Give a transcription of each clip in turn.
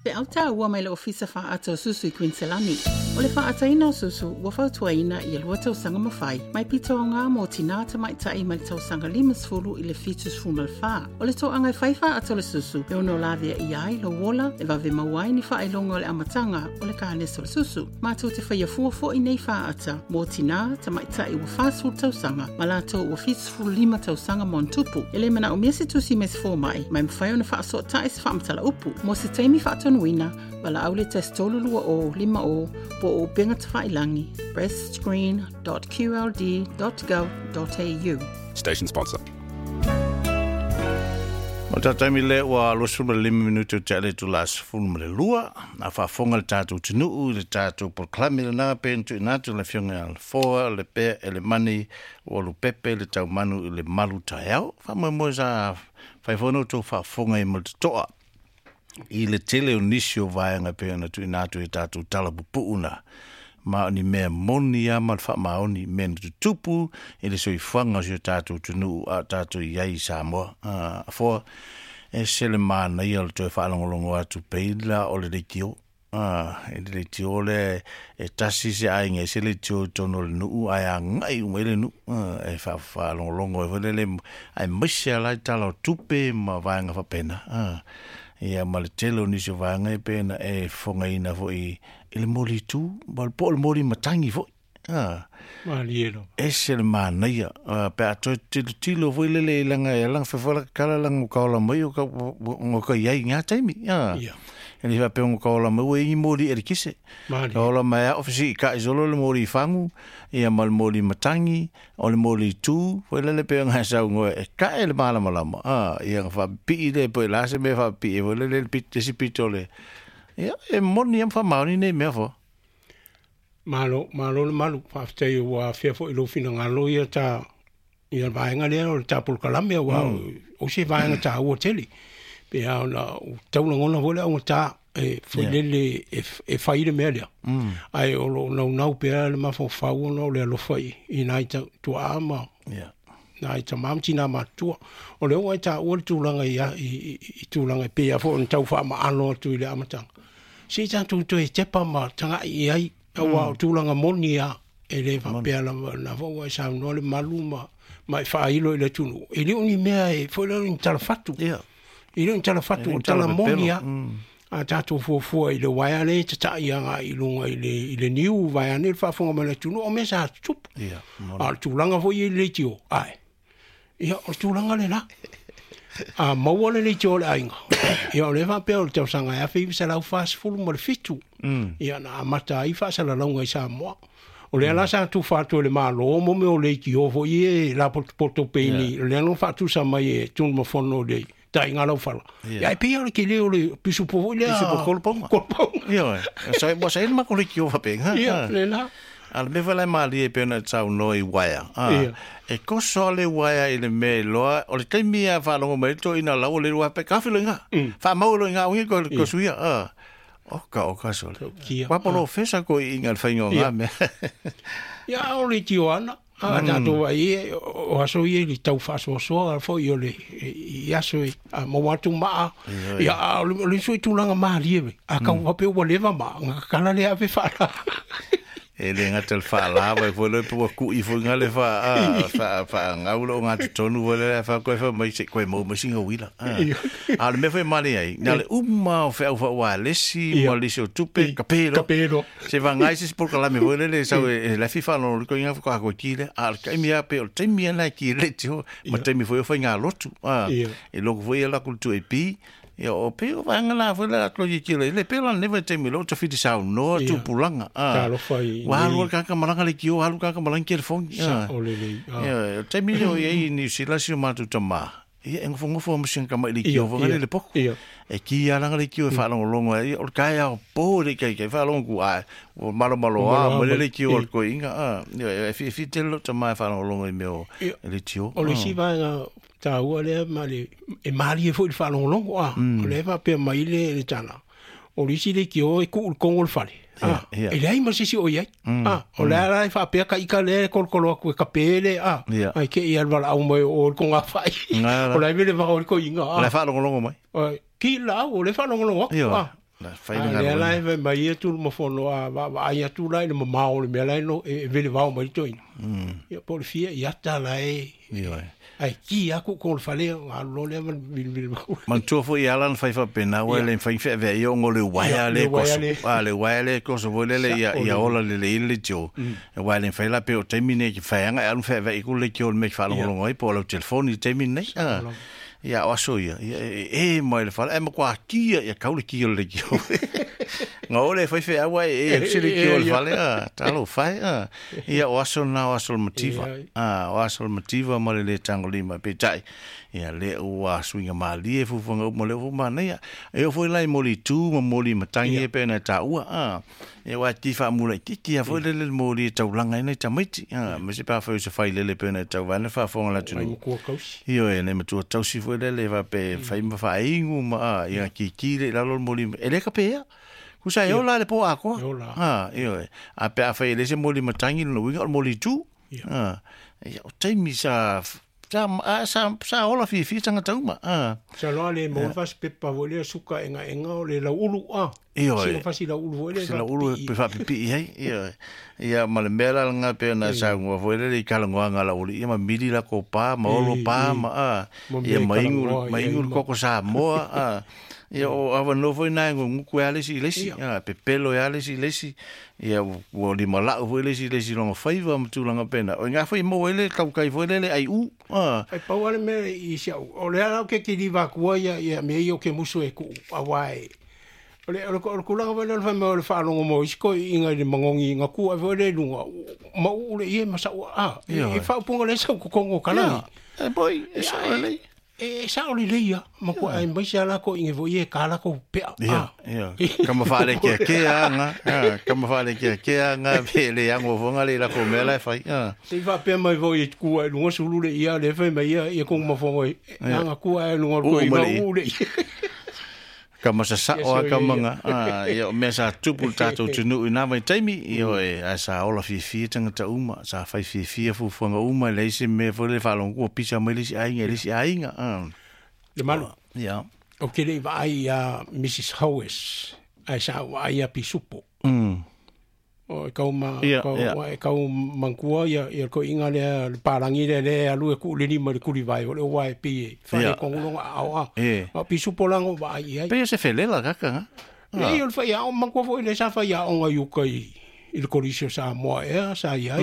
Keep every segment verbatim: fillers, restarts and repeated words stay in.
Feau tāua mai le ofisa whaata o susu i Queensland. O le whaataina o susu, ua fautuaina i lua tausaga ma fai, mai pito o ngā mō tina tamaitai mai le tausaga limasefulu i le fitusefulu ma le fā. O le toaga e fai whaata o le susu, e ono lavea i ai lo wola, e vave mauai ni whaelonga o le amatanga o le kānesa o le susu. Mātou te whaia fua fo i nei whaata, mō tina tamaitai ua whāsefulu tausaga, ma lātou ua fitusefulu lima tausaga ma ona tupu. E le mana o mea se tusi me se fōmai, mai mwhai ona whaasotai se whaamatala upu. Mo se taimi whaatonuina, wala au le tasi tolu lua o lima o po o upenga tawhailangi breastscreen dot q l d dot gov dot a u. Station sponsor. O tātai le ua luasefulu ma le lima minuti o te ale tu la sefulu ma le lua. A faafofoga le tātou tinuu le tātou polokalame lena pe na tuuina atu le afioga ia Lefoa le pea e le mani ua lupepe le taumanu i le malu taeao. Faamoemoe sa faifono tou faafofoga i ma le totoa i le tele o nisi o vaega pe na tuuina atu i tātou tala pupuu na. Ma o ni mea moni a ma le faamaoni mea na tutupu i le soifuaga o si o tātou atunuu a o tātou i ai i Samoa. Ah, afoa e se le manaia o le toe faalogologo atu peila o le leitio. Ah, e le leitio le e tasi se aiga e se leitio i totonu o le nuu ae agai uma i le nuu. Ah, e faafaalogologo ai foi lele ae maise ala i tala o tupe ma vaega faapena. Ah, ia ma le tele o nisi o vaega e pe na e fofogaina foi i le moli tu, ma le po o le moli matangi foi. Ah. Malie lava. Ese le manaia. Ah, pe a toe tilotilo foi lele i langa e langa fefola kala langa o kaola mai o ka, o ka iai ngā taimi. Ah. Ia. E le faapea o kaola mai ua ingi moli e le kise. Malie. Kaola mai a ofisi i ka isolo le moli i fangu, ia ma le moli matangi, o le moli tu, foi lele pe ngā sau ngoe e ka e le malamalama. Ah, ia nga whapii le po e lase me whapii e foi lele le pit, esi pito le. Ia, e moni am whamaoni nei mea fo. Malo, malo le malu, whaafetai ua afea foi lo finangalo ia ta, ia vaenga lea o le tā polokalame ua Mm. o se vaenga tā ua tele. Pe a ona o taulagona foi le auga tā e foi Yeah. lele e, e whai le mea lea. Mm. Ai o lo naunau pea le mafaufau ona o le alofa i, i nai ta, tuaa ma Yeah. nai tamā ma tinā matutua. O le auga i tā ua le tulaga i, i, i, i tulaga e pea foi ona tau faamaalo atu i le amataga. Se i tātou toe tepa ma tagai i ai, aua o tulaga moni a, e le faapea lava na foi ua e saunoa le malu ma, ma e faailo i le atunuu. E le o ni mea e foi lea o ni talafatu. Yeah. E le o ni talafatu, E le o o ni tala tala moni pepelo. a. Mm. A tātou fuafua i le waea le tatai aga i luga i le, i le niu vaea nei le faafofoga mai le atunuu, o mea sa tutupu. Yeah, moni. A o le tulaga foi i le leitio, ae. Ia, o le tulaga lena. A maua le leitio o le aiga. Ia, o le faapea o le tausaga e afe iva selau fasefulu ma le fitu. Mm. Ia, na amata ai faasalalauga i Samoa. O lea la sa tufa atu e le Malo mo mea o leitio foi e lapotopoto peini. Yeah. O lea no faatusa mai e Tunumafono le taiga laufala. Yeah. Ia, e pei o le kele o le pisupo foi lea. Pisupo koloponga. Koloponga. Ia, e. Sa, wa sa ina mako leitio faapega. Ia, Ah. lena. A le mea foi la e malie e pei ona saunoa i waea. Ah. Ia. E koso le waea i le mea e loa, o le taimi a faalogo mai le toeaina lau o le lua pe kafe lo inga. Mm. Faamau lo inga o ko ko Ia. suia. Ah. O ka o ka sole. Kia. Wa polo fesa ko i inga le whainga o ngā Ia. mea. Ia, o le tio ana. A tātou ai e, o aso i e li tau faasoasoa foi o le i aso e a maua atu maa. Ia, Ia, a o le o le sui tulaga malie we. A kau wape ua leva maa, ngā kakala le ave whaala. E le ngata le whaalava e foi le pua kui foi ngā le wha, ah, wha, wha ngau lo ngā tonu foi le wha koe wha mai se koe mau mai singa wila. Ah. Ia. A le mea foi male ai, nā le uma o whea wha wā lesi, Ia. ma lesi o tupe, ka pēro. Ka pēro. Se wha ngai se sport kalame foi le le sau e e le fifa no ko inga whaka koe ki le, a le kaimi a pe o le taimi ana ki le tio, ma Ia. taimi foi o whai ngā lotu. Ah. Ia. E loko foi e lako tu e pi, ia o pe o whaanga la foi la klo ki le le pe la neva taimi lo te whiti sau noa Ia. tu pulanga. Ah. Talofa i Wa halu nei- kaka malanga le kio, halu kaka malanga ki le fongi. Sa Ah. o le lei. Ah. Ia, o taimi leo i ai New Zealand si o mātou tamā. Ia, e ngofo ngofo o masinga kama i le Ia, kio, whanga ia, le poko. ia. E ki a langa le kio e whaalongolongo ai, o le kai ao pō le kai kai whaalongo ku ai, o malo malo a, Malo a, mo le ma- le kio o ia. le koi inga, ah. Ia, e fi e fi tele lo tamā e whaalongolongo i mea o Ia. le tio. O le isi vaega tāua lea ma le, e malie foi le faalogologo a. Mm. O le faapea mai le le tala. O le isi le kio e kuu le kongo le fale. Ah, Ia, ia. e leai ma se isi o i ai. Ah, o le ala e faapea ka ika lea e kolokolo atu e kapē le, ah, Ia. ai ke ia le valaau mai o le konga whai. Ngā la. O le vele vao o le koinga, O le ah. whaalongolongo mai. Ai, ki lau, o le faalogologo atu, Ia. ah. La fai le le la e mai ia tu ma fono a va va ia tu la le mamao le mea la no e vele vao mai toi. Ia po le fia ia ta la e. Ioe. Ai ki aku ko le fale a lo le ma vil vil. Man tu fo ia lan fai fa pena wa le fai fe ve yo ngo le wa le ko a le wa le ko so le le ia ia ola le le le jo. E wa le fai la pe o temine ki fai anga alu fe ve ku le ki o me fa lo ngoi po lo telefoni temine. Ia o aso ia e mai le fale e ma kwa kia ia kaule kia le ki nga ole fai fe awa e e se le ki o le fale a talo fai a ia o aso na o aso motiva a o aso motiva ma le le tango lima pe tai ia le o a suinga malie fufunga o mo le fu mana ia e o foi lai moli tu ma moli matangi e pe na ta ua a e wa ti fa mula ti ti a foi le le moli taulanga ina tamaiti a me se pa foi se fai le le pe na tau vana fa fonga la tu io e ne matua tausi foi le le va pe fai ma fa ingu ma ia ki ki le la lo moli e le ka pe ia kusa e ola le po a ko a io e a pe a fai le se moli matangi no winga moli tu a ia o taimi sa sa sa sa ola fi fi tanga tauma a sa lo le mo fas pepa vo le suka enga enga o le la ulu a io si fasi la ulu vo le la ulu pe fa pipi hei io ia ma le mela nga pe na sa ngo vo le kala ngo nga la ulu ia ma mili la ko pa ma olo pa ma a ia ma ingu ma ingu ko ko sa mo a ia o ava no foi na ngo ku ale si le si a pepelo ale si le si ia o li mala foi le si le si longa faiva ma tulanga pena o nga foi mo ele kau kai foi le ai u a ai pau ale me i si o le ala ke ki liva ku ia ia me io ke musu e ku awai o le o le kula va le fa mo le fa longo mo isko inga le mangongi nga ku ai le lunga ma u le ia ma sa a e fa punga le sa ku kongo kala e boy e sa le e sa o le ia ma ko ai mai sa la ko inge vo ie kala ko pe a ia kama fa le ke ke anga kama fa le ke ke anga pe le ango vonga le la ko mela fai a se va pe mai vo ie ku ai lunga sulu le ia le fa mai ia ia ko ma fo anga ku ai lunga ko i ma u le kama sa sa o kama nga ia me sa tupu tatou tunu ina mai taimi io e sa ola fifi tanga ta uma sa fai fifi fu fuanga uma le se me fo le fa longo pisa mai le si ai le si ai nga le malu ia o ke le vai ia Missus Howes ai sa ai a pisupo mm o kau ma kau kau mangkua ia ia ko inga le parangi le le alu e ku le ni ma le kuri vai o le wai pi fa le kongo a a o pisupo lango vai ai pe se felela kaka ha e o fa ia o mangkua foi le sa fa ia o ngai ukai i le korisio sa moa e sa ia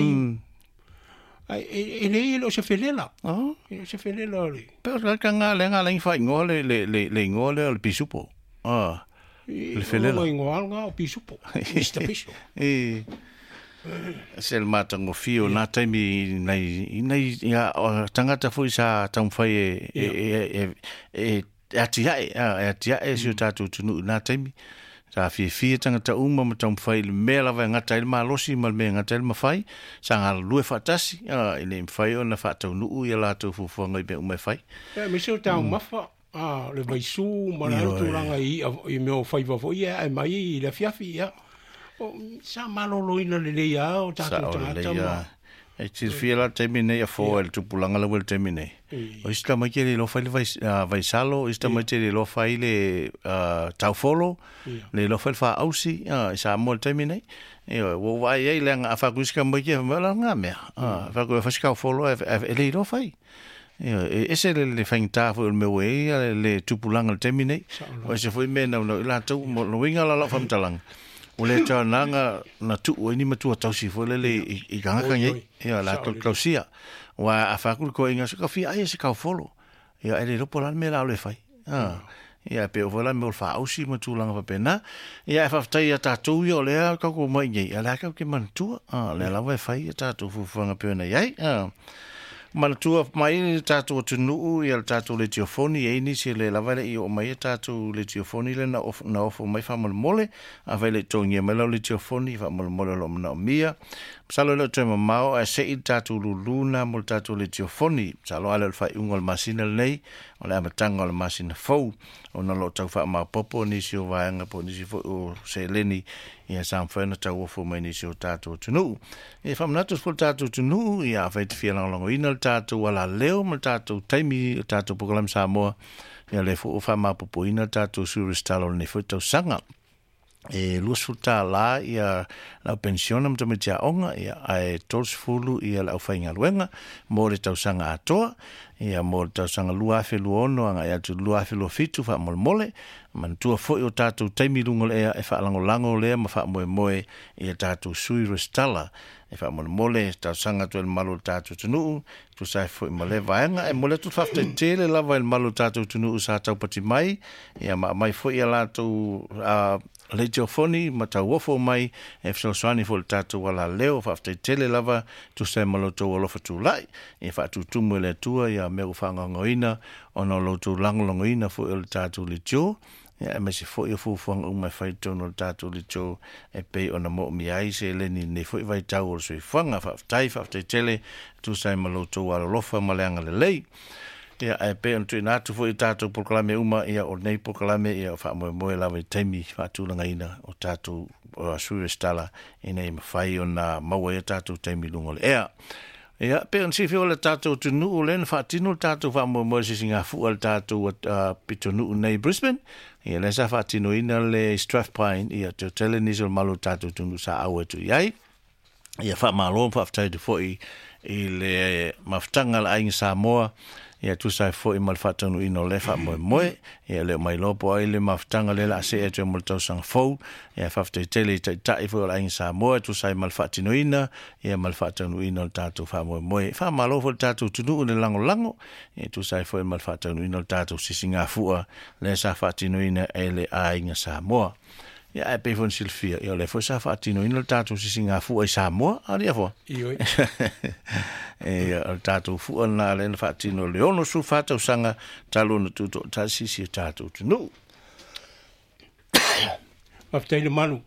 ai e le o se felela oh e se felela le pe kaka nga le nga le fa ngo le le le ngo le o pisupo ah le felela o ngo nga o pisupo Mister Piso e se le matango fio na taimi nei nei ia tangata foi sa taumfai e e e e ati ai ati ai si tatu tunu na taimi sa fifi tangata uma ma taumfai le mea lava ngata ile malosi ma le mea ngata ile mafai sa galue faatasi i le mafai ona faataunuu ia latou fuafuaga i mea uma e fai e me se tau mafa ah le vaisu ma la tulaga i i mea o faiva foi ia e mai i le afiafi ia o sa maloloina lelei a o tatou tagata ma e silafia la taimi nei a foa i le tupulaga lau le taimi nei o isi tamaiti e le iloa fai le vaisalo o isi tamaiti e le iloa fai le taufolo le iloa fai le faausi i Samoa le taimi nei ua ou vaai ai leaga a faaku isi tamaiti e faimai o la lagā mea faaku e fai si taufolo e le iloa fai e ese le le faigata foi o le mea ua i ai le tupulaga le taimi nei o ese foi mea naunau i latou mo uiga la lau faamatalaga o le taonaga na tuu ai ni matua tausi foi lele i gagaka nei ia latou tausia ua a faaku le koaiga se kafia ai e se kaufolo ia e le iloa po o le a le mea la o le fai a ia pe o foi la mea o le faausi ma tulaga faapena ia e faafetai ia tatou ia o lea kaukou mai nei a lea kau ke manatua a lea lava e fai ia tatou fuafuaga pei ona iai a manatua mai le tatou atunuu ia le tatou letiofoni e nisi le lava le i o mai e tatou letiofoni le na ofo, na ofo mai faamolemole afai le togia mai lau letiofoni faamolemole o loo manaomia masalo le toe mamao ae se'i le tatou luluna mo le tatou letiofoni masalo ale o le faaiuga o le masina lenei o le amataga o le masina fou ona loo tau faamaopopo nisi o vaega po nisi foi o seleni ia sa mafai ona tauofo mai nisi o tatou atunuu e faamanatu foi le tatou atunuu ia afai te fia lagolagoina le tatou alaleo ma le tatou taimi o tatou program Samoa ia le foi o faamaopopoina le tatou suristalo lenei foi tausaga. E luasefulu tālā ia lau pensiona ma tamaiti aoga ia ae tolusefulu ia le aufaigaluega mo le tausaga atoa ia mo le tausaga lua afe lua ono agai atu lua afe lua fitu faamolemole manatua fo'i o tatou taimi luga o le ea e faalagolago lea ma faamoemoe ia tatou sui resitala e faamolemole tausaga atu ai le malu o le tatou atunuu tusa ai fo'i ma lea vaega e momoli atu le faafetai tele lava i le malu o le tatou atunuu sa taupati mai ia ma aumai fo'i ia latou leitiofoni ma tauofo mai e fesoasoani fo'i le tatou alaleo faafetai tele lava tusa ai ma lo outou alofa tulai e faatutumu e le Atua ia mea ua faagaogoina ona o lo outou lagolagoina fo'i o le tatou leitio ia aemaise fo'i o fuafuaga uma e fai i totonu o le tatou leitio e pei ona moomia ai seleni i lenei fo'i vaitau o le soifuaga faafetai faafetai tele tusa ai ma lo outou alolofa ma le agalelei. Ia ae pei ona tuuina atu fo'i i tatou polokalame uma ia o lenei polokalame ia o faamoemoe lava i taimi faatulagaina o tatou sui resitala ina ia mafai ona maua ai tatou taimi i luga o le ea. Ia pei ona silafia o le tatou atunuu lea na faatino le tatou faamoemoe i le sisigafua a le tatou pitonuu nei i Brisbane. Ia lea sa faatinoina le Strathpine ia te hotele nisi o le malu o le tatou atunuu sa auai atu i ai. Ia faamalo ma faafetai atu fo'i i le mafutaga a le Aiga Samoa ia tusa ai fo'i ma le faataunuuina o lea faamoemoe ia le o mai loa po o ai le mafutaga lea o le a see atu ai mo le tausaga fou ia faafetai tele i taitai foi o le Aiga Samoa e tusa ai ma le faatinoina ia ma le faataunuuina o le tatou faamoemoe. Faamalo foi le tatou atunuu i le lagolago ia tusa ai foi ma le faataunuuina o le tatou sisigafua lea sa faatinoina e le Aiga Samoa. Ia ae pei foi ona silafia ia o lea foi sa faatinoina le tatou sisigafua i Samoa a fua. Ioe. E o le tatou fua lena lea na faatino le ono fa tausaga talu ona tutoatasi si o tatou atunuu. Faafetai le malu.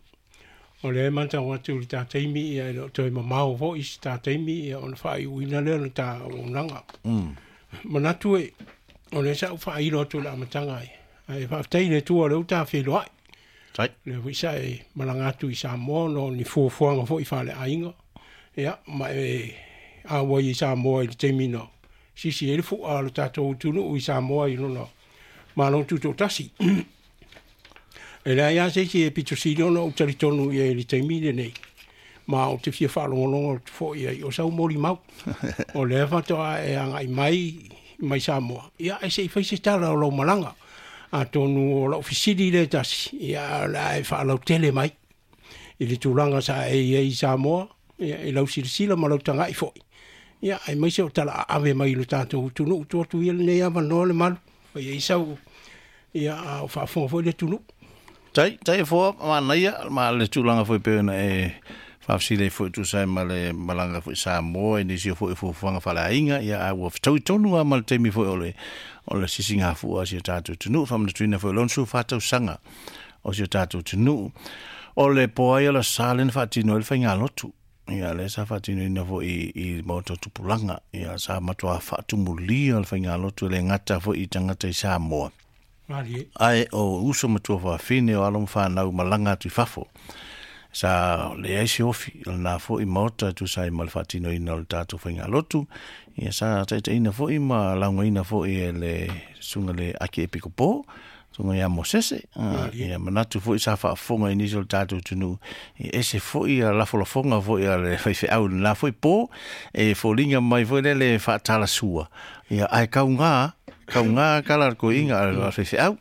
O lea e matau atu i le ta taimi ia e le o toe mamao fo'i se ta taimi ia ona faaiuina lea o le ta auaunaga. Manatu e o lea sa ou faailo atu i le amataga ai. Ae faafetai i le Atua o lea ua ta feiloai. Tai. Lea foi sa e malaga atu i Samoa ona o ni fuafuaga fo'i faaleaiga. Ia ma e auai i Samoa i le taimi na sisi ai le fu'a o le tatou atunuu i Samoa i lona Malo Tutoatasi. E leai lava se isi e pitosili ona ou talitonu i ai i le taimi lenei. Ma ou te fia faalogologo atu fo'i ai o sau molimau. O lea faatoa e agai mai mai Samoa. Ia e se i fai se tala o lau malaga. Atonu o lau fesili lea tasi, ia o le a e faalautele mai i le tulaga sa e i ai i Samoa, ia i lau silasila ma lau taga'i fo'i. Ia aemaise o tala aave mai i lo tatou atunuu tuu atu ia lenei avanoa le malu. Fai ai sau ia a o faafofoga foi le atunuu. Tai, tai e foa manaia ma le tulaga foi pei ona e faafesili ai foi tusa ai ma le malaga foi Samoa i nisi o foi fuafuaga faaleaiga ia ae ua fetaui tonu lava ma le taimi foi o le o le sisigafua a si o tatou atunuu faamanatuina foi o le ono fa tausaga o si o tatou atunuu. O le poai o le sa lea na faatino ai le faigalotu. Ia lea sa faatinoina foi i, i maota o tupulaga. Ia sa matuā faatumulia le faigalotu e le gata foi i tagata i Samoa. Malie. Ae o uso ma tuafafine o alo ma fanau malaga atu i fafo. Sa leai se ofi o lena fo'i maota e tusa ai ma le faatinoina o le tatou faigalotu. Ia sa taitaiina fo'i ma laugaina fo'i e le susuga le Ake Epikopo, susuga ia Mosese. Malie. Ia manatu fo'i sa faafofoga i nisi o le tatou atunuu. Ia ese fo'i a lafolafoga fo'i a le faifeau i lena fo'i po e foliga mai foi lea le faatalasua. Ia ae kaugā, kaugā kala le koiga a le faifeau.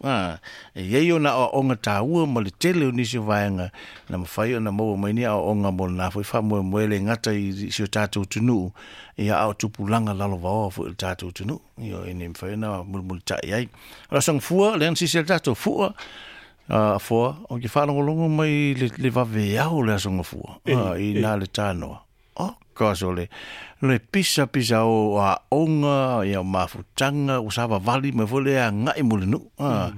E i ai ona aoaoga taua ma le tele o nisi o vaega na mafai ona maua mai ni aoaoga mo lena foi faamoemoe le gata i si o tatou atunuu ia a o tupulaga lalovaoa foi o le tatou atunuu. Ia e le mafai ona mulimulitai ai. O le asoga fua lea na sisi ai le tatou fua uh, foa o ke faalogologo mai le, le vaveao o le asoga fua uh, i nā le tānoa. Oh, gosh, o le, le pisa pisa o aoga, ia o mafutaga, ua savavali mai foi le agai mo le nuu. Ah,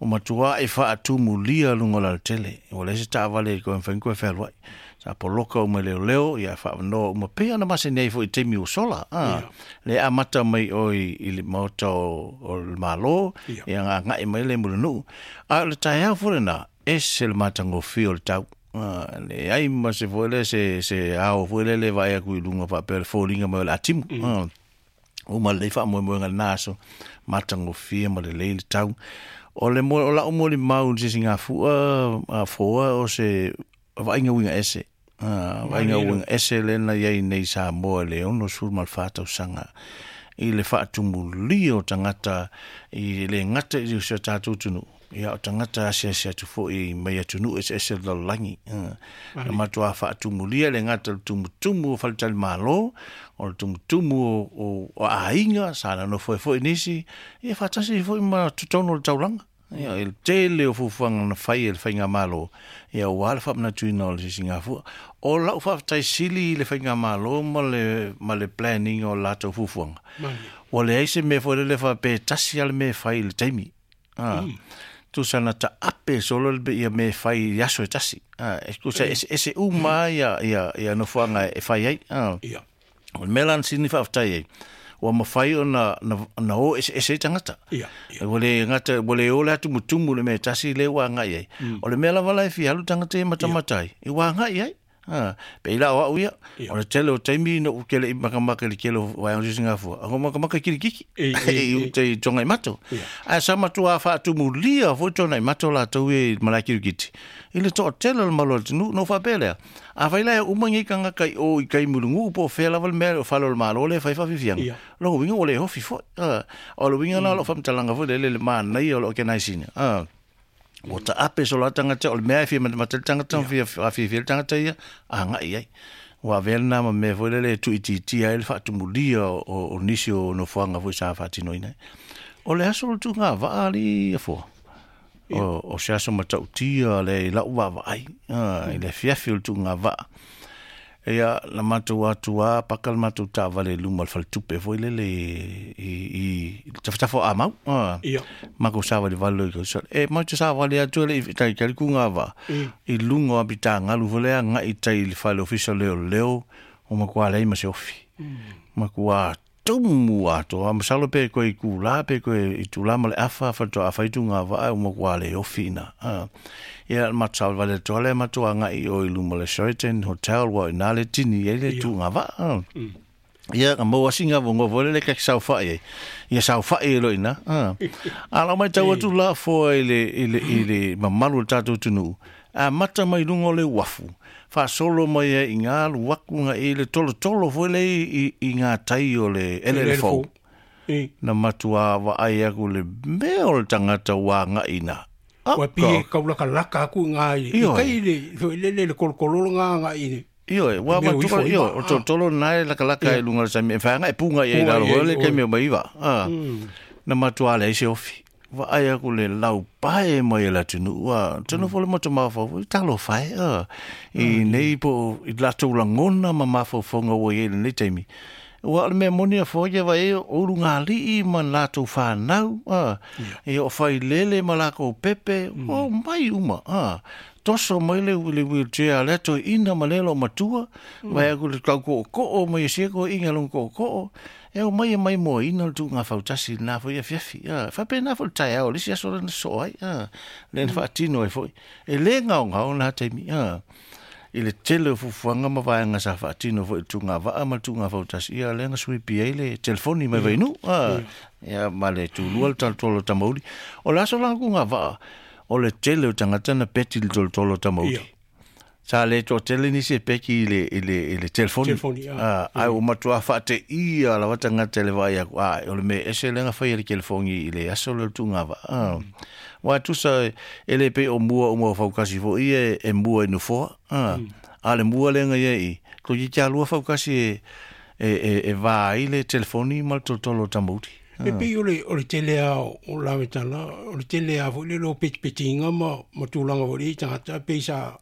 o matua e faatumulia luga o le alatele. Ua leai se taavale e koe mafai ona koe fealuai. Sa poloka uma i leoleo, ia faavanoa uma pei ona masani ai foi i taimi ua sola. Ah, le amata mai oi i le maota o, o le Malo, ia aga'i mai le mo le nuu. A o le taeao foi lena, ese le matagofie o le tau. Ah, leai ma se foi lea se, se ao foi lea le vaai atu i luga faapea le foliga mai o le atimu. Ah, uma lelei faamoemoega i lena aso, matagofie ma lelei le tau. O le mo o la o mo le mau se singa fua a foa o se vaaiga uiga ese. Ah, vaaiga uiga ese le na iai nei Samoa le ono sefulu ma le fa tausaga i le faatumulia o tagata i le gata i si o tatou atunuu. Ia o tagata asiasi atu foi mai atunuu eseese o le lalolagi. Na matuā faatumulia le gata o le tumutumu o faletalimalo, o le tumutumu o, o, o aiga sa nonofo ai foi nisi, ia faatasi foi ma totonu o le taulaga. Ia, i le tele o fuafuaga na fai e le faigamalo, ia ua le faamanatuina o le sisigafua. O lau faafetai sili i le faigamalo ma le, ma le planning o latou fuafuaga. Ua leai se mea foi lele faapea e tasi lava le mea e fai i le taimi. Ah, mm. Tusa na taape solo le ia mea e fai i aso e tasi. Ah, e tusa eseese uma ia, ia, ia nofoaga e fai ai. Ah. Ia. O le mea la na sini faafetai ai, ua mafai ona na, na o eseese ai tagata. Ia, ia. Ua le gata, ua le o le atumutumu le mea e tasi lea ua agai ai. Mm. O le mea lava la e fia alu tagata ia matamata ai, e ua agai ai. Ha, pe i la o au ia, Ia. o le tele o taimi no u kele i makamaka i le kele o vaeanga o sisigafua. Ako makamaka kirikiki, E, e, i e. uta i tonga i mato. Ia. Ae sa matua faatumulia foi tonga i mato latou ia i malae kirikiti. I le toatele o le malo o le atunuu, na ou faapea lea. Afai la e uma nei tagata i o i kai muluguu po o fea lava le mea o fale o le malo lea e fai faafiafiaga. Ia. Lona uiga ua le ofi foi. Ah, o le uiga la o loo faamatalaga foi lele le manaia o le organise ina. Ah, ua taape solo a tagata o le mea e fia matamata le tagata ma fia afiafia le tagata ia agai ai. Ua avea lena ma mea foi lele e tuuitiitia ai le faatumulia o, o, o nisi o nofoaga foi sa faatinoina ai. O le aso o le tuugavaa alii afoa. O, o se aso matautia le i lau vaavaai, ah, i le afiafi o le tuugavaa. Ia, na matou atu a paka le matou taavale i luma o le faletupe foi lele i, i, i tafatafa o Amau. Ah, Ia. makou savalivali loa i kai. E matou te savali atu e le i tai kai le kugavaa Mm. i luga o apitagalu foi lea agai tai i le fale ofisa o leoleo o makuā leai ma se ofi. Makuā tumu atoa, masalo pe koe i kulā, pe koe i tūlā ma le afa, faatoa afai tugavaa o makuā le ofi ina. Ah. Ia, matou savalivali atu lea matou agai i o i luma o le Sheraton Hotel, ua o ina le tini ai le Ia. tugavaa. Ah. Mm. Ia, na maua singa vongo foi lele kaki saofai ai. Ia saofai e loa ina. Ah. A lau matau atu la foa i le, i le, i le mamalu o le tatou atunuu. Amata mai luga o le uafu. Faasolo mai ai i ngā alu aku nga i le tolotolo foi le i, i, i ngā tai o le elele fou. E. Na matua vaai aku le mea o le tagata ua agai ina. Ua pie kaulakalaka aku ngā i. I Ioe. kai le, foi lele le kolokololo ngā ngā i le. Ioe, ua Mea matua, uifo i ioe, ma- o tolotolo nae lakalaka i luga o le sami. E whaanga e punga i ai Punga lalo i ai, foi le oi. kemi o maiva. Ah. Na matua leai se ofi. Vaai aku le laupae mai e le atunuu. Ah, tino foi le motu mafaufau, i talofa e, ah. I nei po i latou lagona ma mafaufauga ua i ai lenei taimi. Ua o le mea moni a foa ia vaai o ulugalii ma latou whanau, ah. Ia o failele ma lakou pepe, o mai uma, ah. Toso mai le, le wheelchair a le toeaina ma le lo matua, vai aku le tau ko'oko'o mai e sia koeaiga lona ko'oko'o, e o mai e mai moaina le tuugafautasi lena foi afiafi. Ah, faapena foi le taeao, le isi aso lena soo ai, ah, lena faatino ai foi. E lē gaogao lena taimi, ah. I le tele o fuafuaga ma vaega sa faatino foi i le tugavaa ma le tugafautasi, ia lea na suipi ai le telefoni mai vainuu, ah. Ia ma le tulua le talatolo o tamauli. O le aso la kugavaa, o le tele o tagata na peti i le tolotolo o tamauli. Ia. Sa le toatele nisi e peki i le, i le, i le telefoni. Telefoni, ah. Ah, ai ua matuā faateia lava tagata i le vaai aku. Ah, o le mea ese lea na fai e le telefoni i le aso lea o le tugavaa. Ah. Ua tusa e le pei o mua uma o faukasi foi ia e, e mua i nofoa. Ah. A le mua lea na ia i, toeitiiti lua faukasi e, e, e, e vā ai le telefoni ma le tolotolo o tamauli. E pei o le, o le tele a o o lavetala, o le tele a foi le lo petipetinga ma, ma tulaga foi le i tagata, pei sa,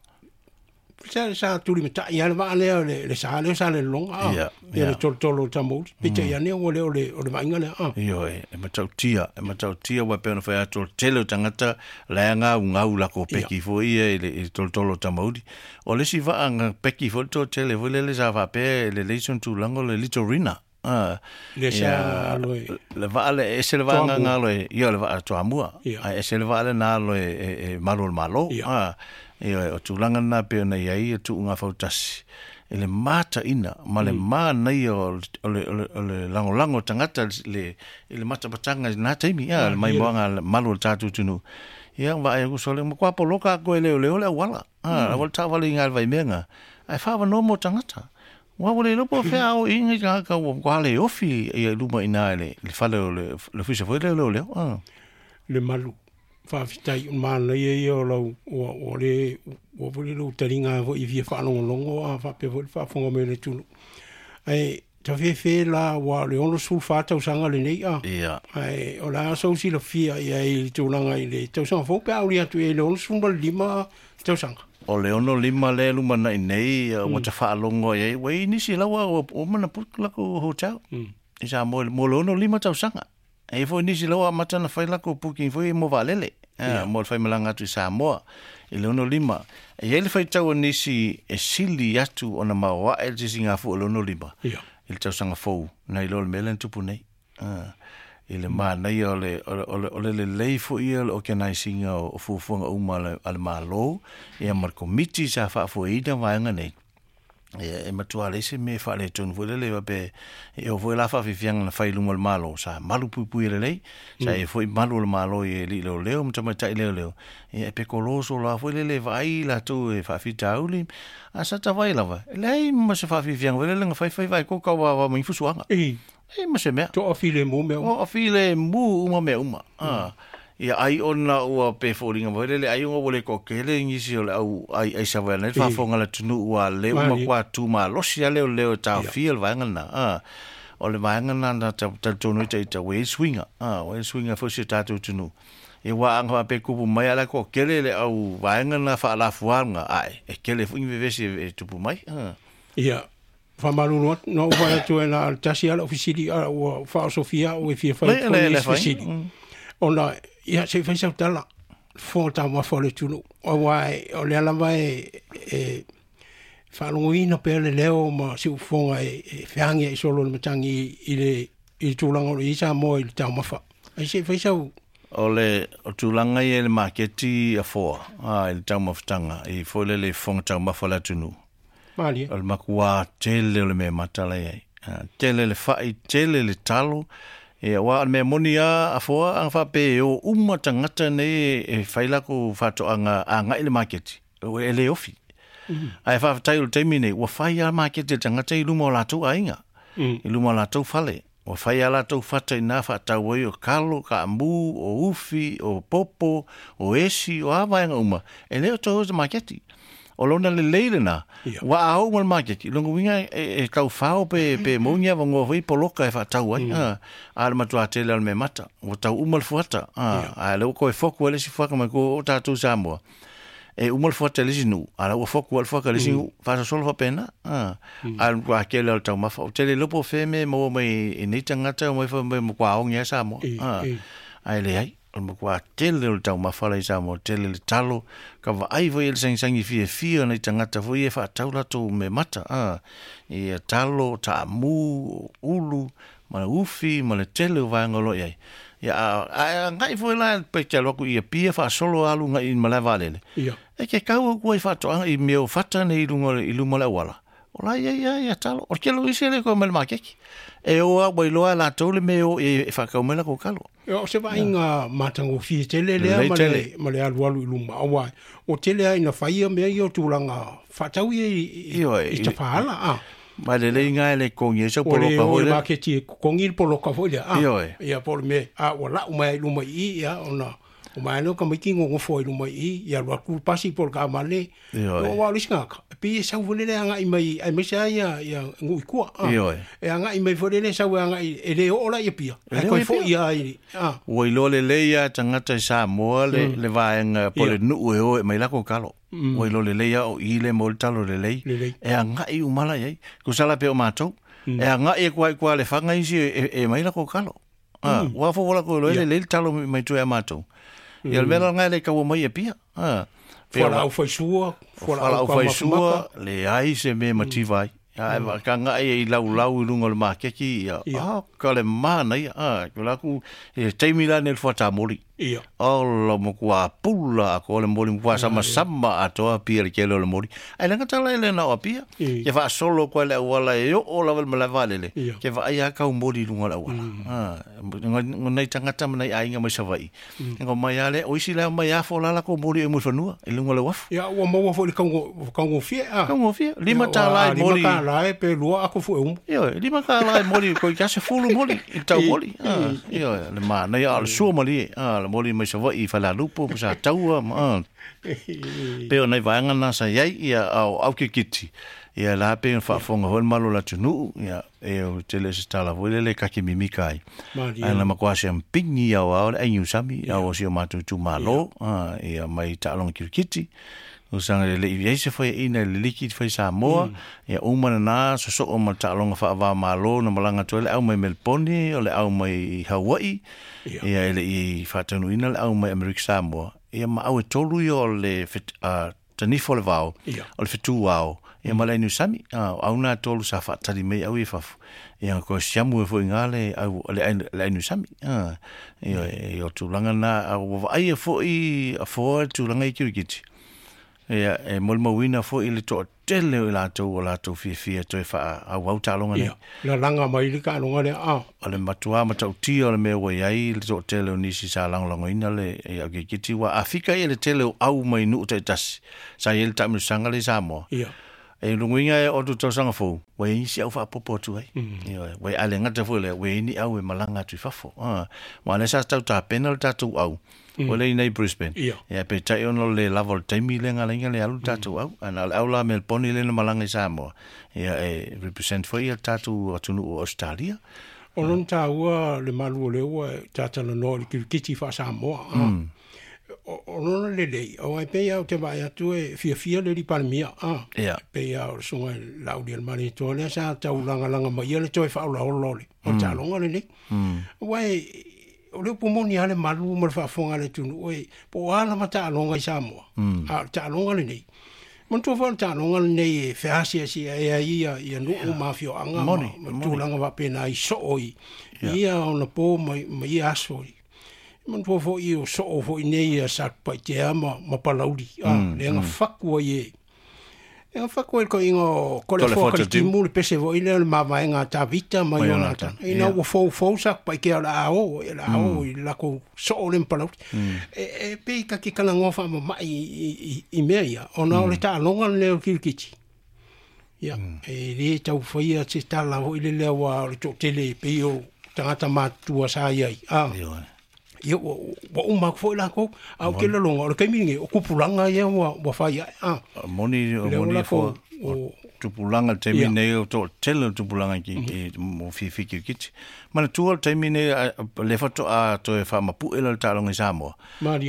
sa, sa tuli matai a le vaa lea o le, le sa lea sa le lologa, ah. Ia, Ia ia. le tolotolo o tamauli. Peitai ane ua lea o le, o le vaaiga lea, ah. Ioe, e matautia, e matautia ua pei ona fai atu o le tele o tagata lae gaugau lakou peki foi ia i le, i le tolotolo o tamauli. O le isi vaa ga peki foi le toatele foi lele sa faapea e lelei sona tulaga o le Litorina. Ah, Le sa ia, alo e- le vaa le ese le vaa Toamua. ga alo e, ia o le vaa Toamua. Ia. Ae ese le vaa lena alo e, e, e malu o le Malo. Ia. Ah, ioe, o tulaga lena pei ona iai e tuugafautasi. I le mataina ma le manaia o le o le lagolago tagata le i le matapataga i lena taimi ia le maimoaga malu o le tatou atunuu. Ia vaai aku sole ma kua poloka aku e leoleo le auala. Ah, ua le taavale i le vaimeaga ae faavanoa mo tagata. Ua ua le iloa po o fea aoiga i tagata ua matua le ofi ia i luma i ina i le fale o le ofisa foi lea o leoleo. Ah. Le malu faafetai o le manaia ia o lau ua ua le ua foi le lou taliga foi i fia faalogologo a faapea foi le faafofoga mai o le atunuu. Ae tafefe la ua o le ono sefulu fa tausaga lenei a. Ia. Ae o le a sou silafia i ai i le tulaga i le tausaga fou pe a uli atu i ai le ono sefulu ma le lima tausaga. O le ono lima lea lumanai nei ua tafaalogo ai ua i ai nisi laua ua uma ona book lakou hotel i Samoa mo le ono lima tausaga. E i ai foi nisi laua amata ona fai lakou booking foi mo vaalele mo le faimalaga atu i Samoa i le ono lima. E i ai le faitau a nisi e sili atu ona maoae le sisigafua o le ono lima i le tausaga fou nai lo le mea lea na tupu nei. I le manaia o le o le o le lelei foi ia o le organise ina o fuafuaga uma a le Malo ia ma le komiti sa faafoeina vaega nei. Ia e matua leai se mea e faaletonu foi lele faapea e oo foi la faafiafiaga na fai i luma o le Malo sa malu puipui lelei sa i ai foi malu o le Malo i alii leoleo ma tamaitai leoleo ia e pekoloso loa foi lele e vaai latou e faafitauli a sa tavai lava e leai ma se faafiafiaga foi lele na faifai vaekoka ua avao mai fusuaga. I. E ma se mea. Toafilemu mea uma. Toafilemu uma mea uma. Ah. Ia ai ona ua pe foliga foi lele ai ona ua le toatele nisi o le au ai ai Savaii nei faafofoga le atunuu ua leu ma matua tumalosi a leoleo e taofia le vaega lena. Ah. O le vaega lena na talitonu ai ita ua i ai suiga. Ah, ua i ai suiga foi i si o tatou atunuu. Ia ua aga faapea tupu mai a la toatele le au vaega lena faalafuaga ae e tele foi ni vevesi e tupu mai. Ah. Ia, faamalulu atu, na ou fai atu e na o le tasi lava lau fesili a ua faaosofia au e fia fai Le atu le foi le nisi fai. fesili. Ona, ia, se i fai sau tala, fofoga taumafa o le atunuu, aua e, o lea lava e, e faalogoina pea le leo ma siufofoga e, e feagi ai solo le matagi i le, i le tulaga o lo o i ai Samoa i le taumafa. Ai se i fai sau. O le o tulaga ia i le maketi afoa a i le taumafataga i foi lele i fofoga taumafa o le atunuu. Malie. O le makuā tele o le mea mata la i ai. Tele le fa'i, tele le talo. Ia aua o le mea moni lava afoa aga faapea e o uma tagata nei e fai lakou faatoaga agai i le maketi, e le ofi. Ae faafetai o le taimi nei, ua fai lava maketi e le tagata i luma o latou aiga, i luma o latou fale. Ua fai lava latou fata i ina faatau ai o kalo, kaamu, o ufi, o popo, o esi, o a vaega uma, e le o toe o se maketi. O lona lelei lena, Ia. ua a oo ma le maketi, lona uiga e, e taufao pe, pe maua ni avanoa foi poloka e faatau ai. A, a o le matuā tele o le mea mata, ua tau uma le fuata. A, a o lea ua toe foku ai le isi fuaka mai kua o tatou Samoa. E uma le fuata i le isi nuu, a o la ua foku ai le fuaka i le isi nuu, faasolosolo faapena. A, a o le matuā tele o le taumafa. Ou te le iloa po o fea mea e maua mai i nei tagata omai fai mai e matua ogi lava Samoa. I, A, i. ae leai. O le matua tele o le taumafa la i Samoa, tele le talo, ka vaai foi i le sagisagi fiafia o nai tagata foi ia e faatau latou mea mata. A, ia talo, taamu, ulu, ma le ufi, ma le tele o vaega o lo o i ai. Ia, a, a agai foi la pe te alu atu i Apia faasolo alu agai i le malae vaalele. Ia. E ke kau aku ai faatoaga i mea o fata nei i luga i luma o le auala. O la e i ai lava ia talo. O le tele o isi e le toe mai le maketi. E o lava ua iloa e latou le mea e o i ai e faatau mai latou kalo. Ia, o se vaaiga matagofie tele lea Lelei ma le, tele. ma le alualu i luma, aua ua tele lava ina fai ia mea ia o tulaga faatau ia i, i, Ioe, i i- tafaala. A. Ma lelei ga e le totogi ai sau Ua le poloka o foi i le lea. maketi e totogi le poloka foi lea. A. Ioe. Ia, po o le mea, a ua lau mai ai i luma i i, ia, ona o mai lea o tamaiti gogofo ai i luma i i, ia alu atu le pasi po o le taavale. Ioe. Aua o le isi tagata, e pei e sau foi lele agai mai, aemaise lava ia, ia nuu i tua. A. Ioe. E agai mai foi lele sau e agai, e le oo la i Apia. E Ae le oo toe i Apia. foi lava i, a. Ua iloa lelei lava tagata i Samoa le, le vaega po o le Ia. nuu e o e aumai lakou kalo. Ua iloa lelei lava o i le maua ai le talo lelei. Lelei. E agai uma la i ai. Tusa la pea o matou. E agai atu lava i tua i Lefaga isi e, e aumai lakou kalo. A, ua fou lakou iloa ai lelei le talo mai tua ia matou. Ia o le mea la lena e le taua mai i Apia. A, pei o Fualaau faisua, fualaau fualaau taumafa mata. faisua, leai se mea mativa ai. Ae ka agai i laulau i luga o le maketi, ia, Ia. ah, ka le mana ia a ko la ku e taimi la ne fuata moli ia o mo kua pula ko le moli kwa sama sama atoa pia le kele o le moli ai langa tala ele na o pia ke fa solo ko le wala e o la vel mala vale le ke va ia ka moli lunga la wala ah ngai tangata mai ai nga mai savai ngo mai ale o isi la mai afo la la ko moli e mo fanua e lunga le wafu ia ua maua foi le kaungo kaungo fie a kaungo fie lima tala e moli lima tala e pe lua ako fu e umu io lima tala e moli ko ka se fulu moli i tau moli ah io le mana ia le sua moli ah le moli mai savai fa la lupo sa taua ma pe o nei vaega na sa iai ia au au kikiti ia la pe faafofoga foi le malo o le atunuu ia e o tele se tala foi lele kake mimika ai ana makuā se pigi au ao le aigiusami au o si o matou itumālō ia mai taaloga kirikiti o saga le leʻi ai se faiaʻina i le liki fai Samoa ia uma lenā sosoo ma le taaloga faavāmālō na malaga atu ai le au mai Melpone o le au mai Hawaii ia e leʻi faataunuuina le au mai Amerika Samoa ia ma au e tolu ia o le tanifo o le vao o le fetu ao ia ma le ainuisami au na tolu sa faatali mai au i fafo ia ko siamu e foʻiga le au le ainuisami ia e o tulaga na au vaai e foʻi afoa tulaga i kirikiti ia e molimauina foʻi le toatele o i latou o latou fiafia toe faaauau taaloga nei la laga mai le taaloga lea a o le matuā matautia o le mea ua iai le toatele o nisi sa lagolagoina le aukikiti ua afika ia le tele o au mai nuu taitasi sa iai le taamilosaga le i Samoa ia e luguiga e o tu tausaga fou ua iai isi au faapopo atu ai ioe ua ale gata foi lea ua iai ni au e malaga atu i fafo ma lea sa tautapena le tatou au ua le inei Brisbane ia peitai ona o le lava o le taimi lea galaiga le alu le tatou au ana o le au la Melbourne lea na malaga i Samoa ia e represent foi ia le tatou atunuu o Australia o lona taua le malu o lea ua tatalanoa i le kirikiti faa-Samoa o lona lelei o ai pei au te vaai atu e fiafia le Palemia a pei au le susuga i le Laaulialemalietoa lea sa taulagalaga mai ia le toe faaolaola o le o le taaloga lenei ua e o le upu moni lava le malu ma le faafofoga a le atunuu e po o a lava taaloga i Samoa a o le taaloga lenei manatua foi o le taaloga lenei e feasiasia ea ia ia nuu ma afioaga ma tulaga faapena i soo i ia ona po ma ma ia aso i manatua foi o soo foi nei ia Satupaitea ma ma Palauli a lea na faku ai e e na faku ai le koiga o Toleafoa Kalitimu le pese foi lea o le mavaega a Tavita ma Ionatana ina ua foufou Satupaitea o le a o le a o i le lakou soo lea ma Palauli e e pei ka ke kalagoa faamamaʻi i i mea ia ona o le taaloga lenei o le kirikiti ia e lē taufaia se tala foi le lea ua o le toatele e pei o tagata matutua sa iai a ia ua ua uma aku foi lakou a o ke laloga o le taimi lenei o kupulaga ia ua ua fai aʻe a moni moni fo tupulaga le taimi nei o toatele o tupulaga ki mo fiafia kirikiti manatua le taimi nei le faatoa toe faamapuʻe la le taaloga i Samoa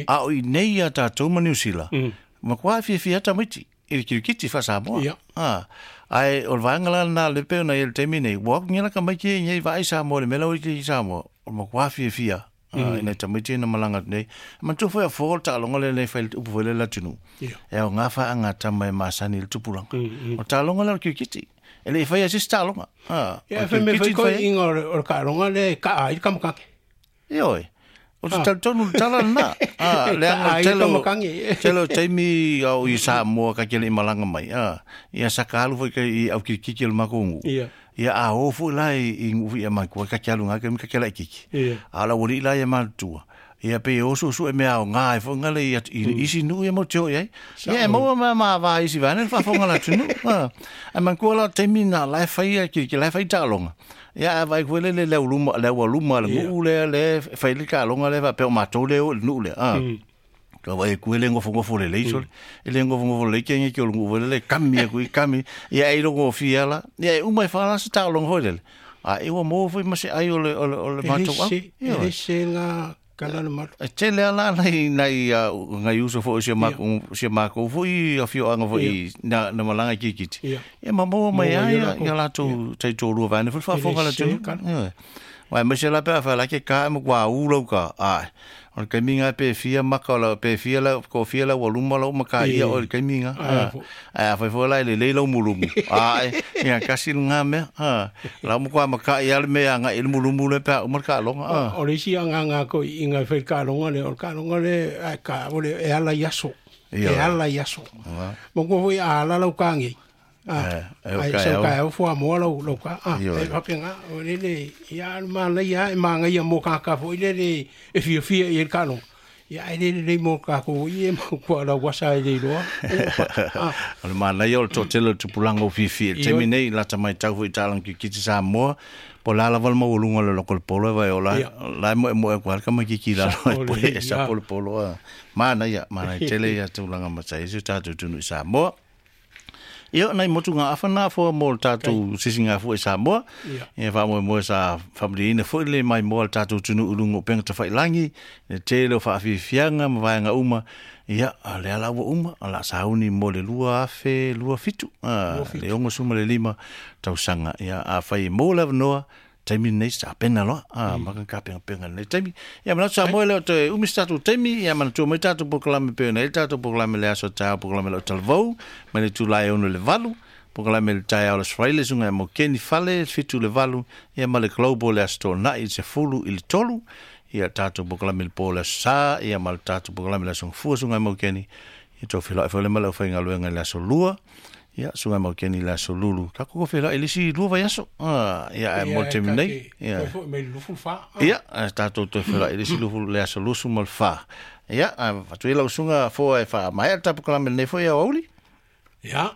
a o i nei ia tatou ma Niu Sila makuā fiafia tamaiti i le kirikiti faa-Samoa a ae o le vaega la lenā le pei ona i le taimi nei ua akugia la tamaiti e vaai Samoa le mea la ua i Samoa o le makuā fiafia ina tamaiti na malaga atu nei manatua foi afo le taaloga lea nei fai le upu foi lea le atunuu e aogā faaagata mai masani i le tupulaga o le taaloga lea o le kirikiti e leʻi faia se isi taaloga ia fai mea foi koiʻiga o le taaloga lea e kaa ai le kamakake ioe o te talitonu le tala lenā a leaga o tele o taimi au i Samoa ka ke leʻi malaga mai a ia saka alu foi i au kirikiti o le makou nuu ia a o foi la i nuu ia mai ka ke alu ga ka ke la kiki a la woli la ia matua ia pe o su su e mea o ngā e fonga le i isi nuu ia mo te oi ai ia e maua ma ma va isi vane fa fonga la tunu a man kua la taimi na la fai ia ki ki la fai taaloga ia a vai koe le le luma le ua luma le nuu le le fai le taaloga le fa pe o matou le o le nuu le a ka vai ku le ngofo le leiso le ngofo le ke ngi ke lu le kami ku kami ia e longo fiala ia uma fa la se taaloga foi le a e ua mo foi ma se ai o le o le matou au e se nga kala le malu e tele ala nai nai ngai uso foi se ma se ma ko foi a fio anga foi na na malaga kirikiti e ma mo mai ai ia latou taitolua vane foi faafofoga la tunu Wai me se la pe fa la ke ka mo kwa u lo ka ai o le kaiminga pe fia maka o la pe fia la ko fia la waluma la maka ia o le kaiminga a fa fo la le le lo mulumu ai ia kasi nga me a la mo kwa maka ia le me anga il mulumu le pe o maka longa o le si anga nga ko inga fe ka longa le o ka longa le ka o le e ala iaso e ala iaso mo ko foi a la lo ka ngi a ai so ka o fo mo lo lo ka a e fa penga o le le ia ma le ia e ma ngai mo ka ka fo ile le e fia fia i ka lo ia ile le mo ka ko i mo ko la wasa ile lo o le ma nei o to tele tupulanga o fifi te mi nei la ta mai tau foi talang ki ki sa mo po la la val mo lunga le lokol polo vai o la la mo mo ko ka ma ki ki la po e sa polo polo ma na ia ma na tele ia tulanga ma sai su ta tu tu sa mo Ia nei motu ngā awhana fo mō le tātou sisinga fo e Samoa. Ia wha moe moe sa whamriina fo le mai mō le tātou tunu urungo penga ta whailangi. Le tele o whaafifianga ma vaenga uma. Ia le ala ua uma. La sauni mō le lua afe, lua fitu. Le ongo suma le lima tausanga. Ia a whai mō le awanoa. Taimi nei sa pena loa a maka ka penga penga nei taimi ia mana sa mo le te umi statu taimi ia mana tu mai tatu pokalame pe nei tatu pokalame le aso ta pokalame le talvou mai le tulai ono le valu pokalame le tai o le Australia sunga mo keni fale fitu le valu ia ma le global le aso na i se fulu i le tolu ia tatu pokalame le po le sa ia ma le tatu pokalame le aso fua sunga mo keni ia to filo e le ma le whainga luenga le aso lua ia sunga mau keni la solulu ka ko fela elisi lua vai aso ah ia e mo te nei ia me lufu fa ia ta to to fela elisi lufu le aso lusu mal fa ia fa tu ila sunga fo e fa mai ta ko la nei fo ia oli ia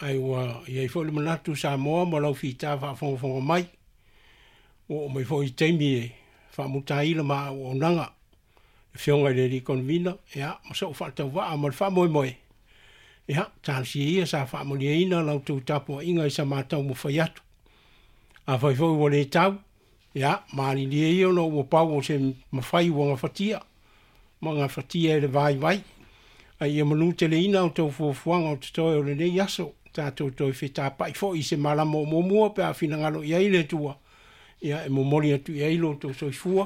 ai wa ia fo le manatu Samoa mo lau fita fa fo fo mai o mai fo i taimi e fa mutai la ma o nanga fionga le li convina ia mo so fa ta wa mo fa moi moi ia, tālsi ia sa whaamonia lau tau tapo inga i sa mātau mo whai atu. A whai fau o le tau, ia, maalilia ia no ua pau o se mawhai ua ngā whatia, ma ngā whatia e le vai vai. Ai ia manu te le ina o tau fuafuanga o te toi o le nei aso, tātou toi whetapai fo i se malama o mōmua pe a whinangalo i ai le tua. Ia, e momoli atu i ai lo tau soifua,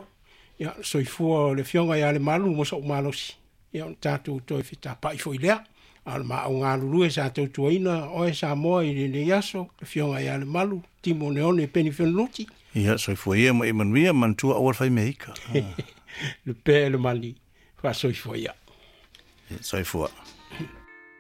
ia, soifua o le fionga ia le malu mo so malosi. Ia, tātou toi whetapai fo i lea. Al ma o ngā lulue sa tautuaina oe Samoa i le nei aso, le fionga ia le malu, timo neone peni whenluti. Ia, soifua ia ma imanuia mantua awal whai meika. Le pē le mali, wha soifua ia. Soifua.